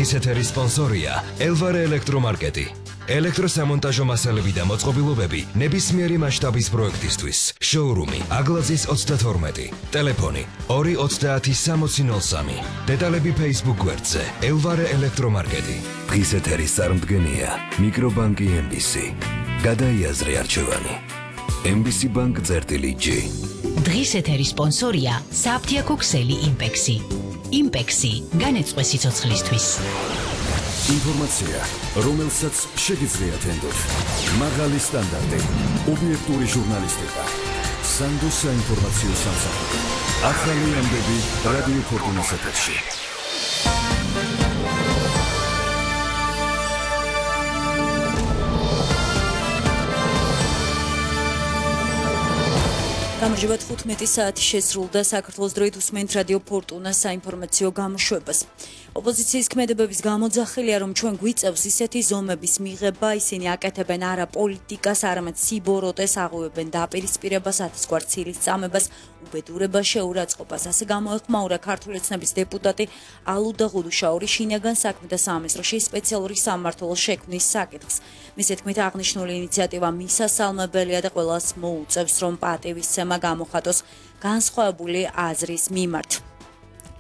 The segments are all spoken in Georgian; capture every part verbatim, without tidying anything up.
დღის ეთერის სპონსორია ელვარე ელექტრომარკეტი. ელექტროსამონტაჟო მასალები და მოწყობილობები ნებისმიერი მასშტაბის პროექტისთვის. შოურუმი აგლაძის ოცდათორმეტი. ტელეფონი ორი ოცდაათი სამოცი ნოლ სამი. დეტალები Facebook გვერდზე ელვარე ელექტრომარკეტი. დღის ეთერის წარმდგენია მიკრობანკი ემ ბი სი. გადაიაზრე არჩევანი. ემ ბი სი ბანკ წერტილი ჯი. დღის ეთერის სპონსორია საფთიაქო ქსელი იმპექსი. იმპექსი განეწყვე სიცოცხლისთვის. ინფორმაცია, რომელსაც შეგიძლიათ ენდოთ. მაღალი სტანდარტი, ობიექტური ჟურნალისტიკა. სანდოს საინფორმაციო სამსახური. ახალი ამბები რადიო ფორტუნას ეთერში. გამარჯობა, თხუთმეტი საათი შესრულდა. საქართველოს დროით უსმენთ რადიო ფორტუნას საინფორმაციო გამოშვებას. ოპოზიციის ქმედებების გამოძახილია, რომ ჩვენ გვიწევს ისეთი ზომების მიღება, ისინი აკეთებენ არა პოლიტიკას, არამედ სიბოროტეს, აღუებენ დაპირისპირებას, ათასგვარ ცილის წამებას, უბედურებას, შეურაცხყოფას. ასე გამოეხმაურა ქართული ოცნების დეპუტატი ალუდა ღუდუშაური შინაგან საქმეთა სამინისტროში სპეციალური სამმართველოს შექმნის საკითხს. მისი თქმით, აღნიშნული ინიციატივა მისასალმებელია და ყველას მოუწევს, რომ პატივისცემა გამოხატოს განსხვავებული აზრის მიმართ.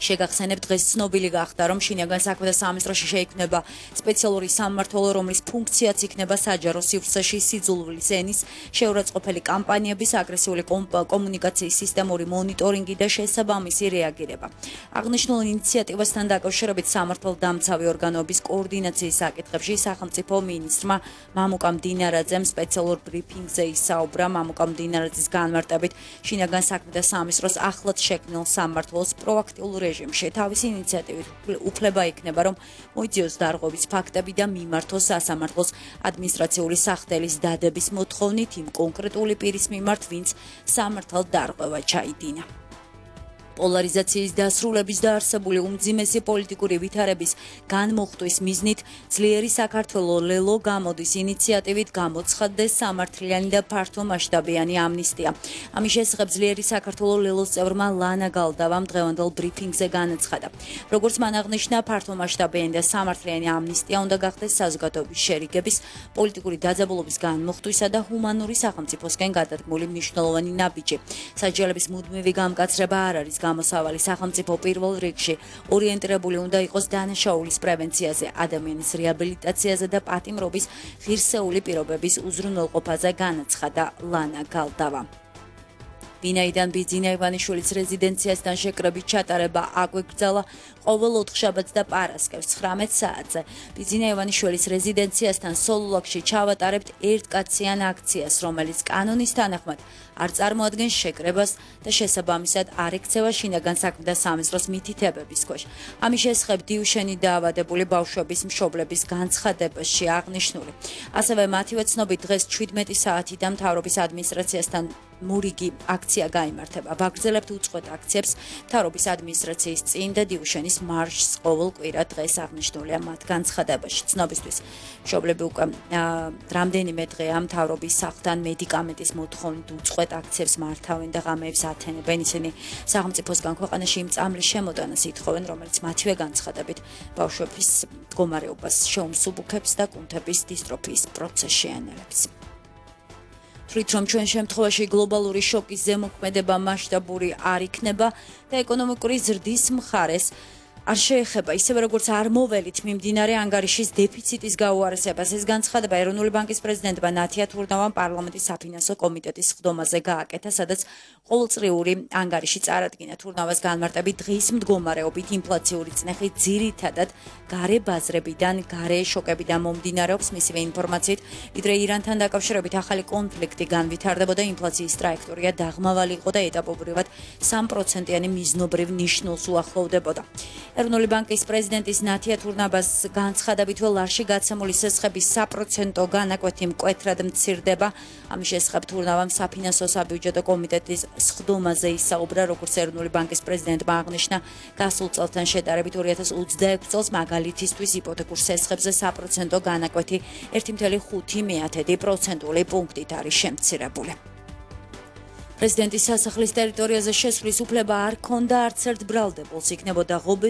შეგახსენებთ, დღეს ცნობილი გახდა, რომ შინაგან საქმეთა სამინისტროში შეიქმნება სპეციალური სამმართველო, რომლის ფუნქციაც იქნება საჯარო სივრცეში სიძულვილის ენის, შეურაცხყოფელი კამპანიების, აგრესიული კომუნიკაციის სისტემური მონიტორინგი და შესაბამისი რეაგირება. აღნიშნულ ინიციატივასთან დაკავშირებით სამართალდამცავი ორგანოების კოორდინაციის საკითხებში სახელმწიფო მინისტრმა მამუკა მდინარაძემ სპეციალურ ბრიფინგზე ისაუბრა. მამუკა მდინარაძის განმარტებით, შინაგან საქმეთა სამინისტროს ახლად შექმნილ სამმართველოს პროაქტიულ რეჟიმში თავისი ინიციატივით უფლება იქნება, რომ მოიძიოს დარღვევის ფაქტები და მიმართოს სასამართლოს ადმინისტრაციული სახდელის დადების მოთხოვნით იმ კონკრეტული პირის მიმართ, ვინც სამართალ დარღვევა ჩაიდინა. პოლარიზაციის დასრულების და არსებული უმძიმესი პოლიტიკური ვითარების განმოხტვის მიზნით ძლიერი საქართველო ლელო გამოდის ინიციატივით გამოცხადდეს სამართლიანი და ფართომასშტაბიანი ამნისტია. ამის შესახებ ძლიერი საქართველო ლელოს წევრმა ლანა გალდავამ დღევანდელ ბრიფინგზე განაცხადა. როგორც მან აღნიშნა, ფართომასშტაბიანი და სამართლიანი ამნისტია უნდა გახდეს საზოგადოების შერიგების, პოლიტიკური დაძაბულობის განმოხტვისა და ჰუმანური სახელმწიფოსკენ გადადგმული მნიშვნელოვანი ნაბიჯი. სასჯელების მუდმივი გამკაცრება არ არის გამოსავალი. სახელმწიფო პირველ რიგში ორიენტირებული უნდა იყოს დანაშაულის პრევენციაზე, ადამიანის რეაბილიტაციაზე და პატიმრობის ღირსეული პირობების უზრუნველყოფაზე, განაცხადა ლანა გალდავა. ვინაიდან ბიძინა ივანიშვილის რეზიდენციასთან შეკრებით ჩატარება აგვეგრძალა ყოველ ოთხშაბათს და პარასკევს ცხრამეტ საათზე. ბიძინა ივანიშვილის რეზიდენციასთან სოლოლაკში ჩავატარებთ ერთკაციან აქციას, რომელიც კანონის თანახმად არ წარმოადგენს შეკრებას და შესაბამისად არ ექცევა შინაგან საქმეთა სამინისტროს მითითებების ქვეშ. ამის შესახებ დიუშენი დაავადებული ბავშვების მშობლების განცხადებაში აღნიშნული. ასევე მათივე ცნობით, დღეს შვიდმეტი საათიდან მთავრობის ადმინისტრაციასთან მურიგი აქცია გაიმართება. ვაგრძელებთ უწყვეტ აქციებს მთავრობის ადმინისტრაციის წინ და დიუშენის მარშს ყოველ კვირა დღეს აღნიშნულია მათ განცხადებაში. ცნობისთვის, მშობლები უკვე რამდენიმე დღეა მთავრობის სახლთან მედიკამენტის მოთხოვნით უწყვეტ აქციებს მართავენ და ღამეებს ათენებენ. ისინი სახელმწიფოსგან ქვეყანაში იმ წამლის შემოტანას ითხოვენ, რომელიც მათივე განცხადებით ბავშვების მდგომარეობას შეუმსუბუქებს და კუნთების დისტროფიის პროცესს შეანელებს. თვლით, რომ ჩვენ შემთხვევაში გლობალური შოკის ზემოქმედება მასშტაბური არ იქნება და ეკონომიკური ზრდის მხარეს არ შეეხება, ისევე როგორც არ მოველით მიმდინარე ანგარიშის დეფიციტის გაუარესებას. ეს განცხადება ეროვნული ბანკის პრეზიდენტმა ნათია თურნავამ პარლამენტის საფინანსო კომიტეტის სხდომაზე გააკეთა, სადაც ყოველწლიური ანგარიში წარადგინა. თურნავას განმარტებით, დღის მდგომარეობით ინფლაციური წნეხი ძირითადად გარე ბაზრებიდან, გარე შოკებიდან მომდინარეობს. მისივე ინფორმაციით, ვიდრე ირანთან დაკავშირებით ახალი კონფლიქტი განვითარდებოდა, ინფლაციის ტრაექტორია დაღმავალი იყო და ეტაპობრივად სამ პროცენტიანი მიზნობრივ ნიშნულს უახლოვდებოდა. ეროვნული ბანკის პრეზიდენტის ნათია თურნაბას განცხადებით, ლარში გაცემული სესხების საპროცენტო განაკვეთი მკვეთრად მცირდება. ამის შესახებ თურნავამ საფინანსო საბიუჯეტო კომიტეტის სხდომაზე ისაუბრა, როგორც ეროვნული ბანკის პრეზიდენტმა აღნიშნა, გასულ წელთან შედარებით ორი ათას ოცდაექვსი წელს მაგალითისთვის იპოთეკურ სესხებზე საპროცენტო განაკვეთი ერთი კoma ხუთი პროცენტული პუნქტით არის შემცირებული. პრეზიდენტის სასახლის ტერიტორიაზე შესვლის უფლება არ ქონდა არც ერთ ბრალდებულს, იქნებოდა ღობე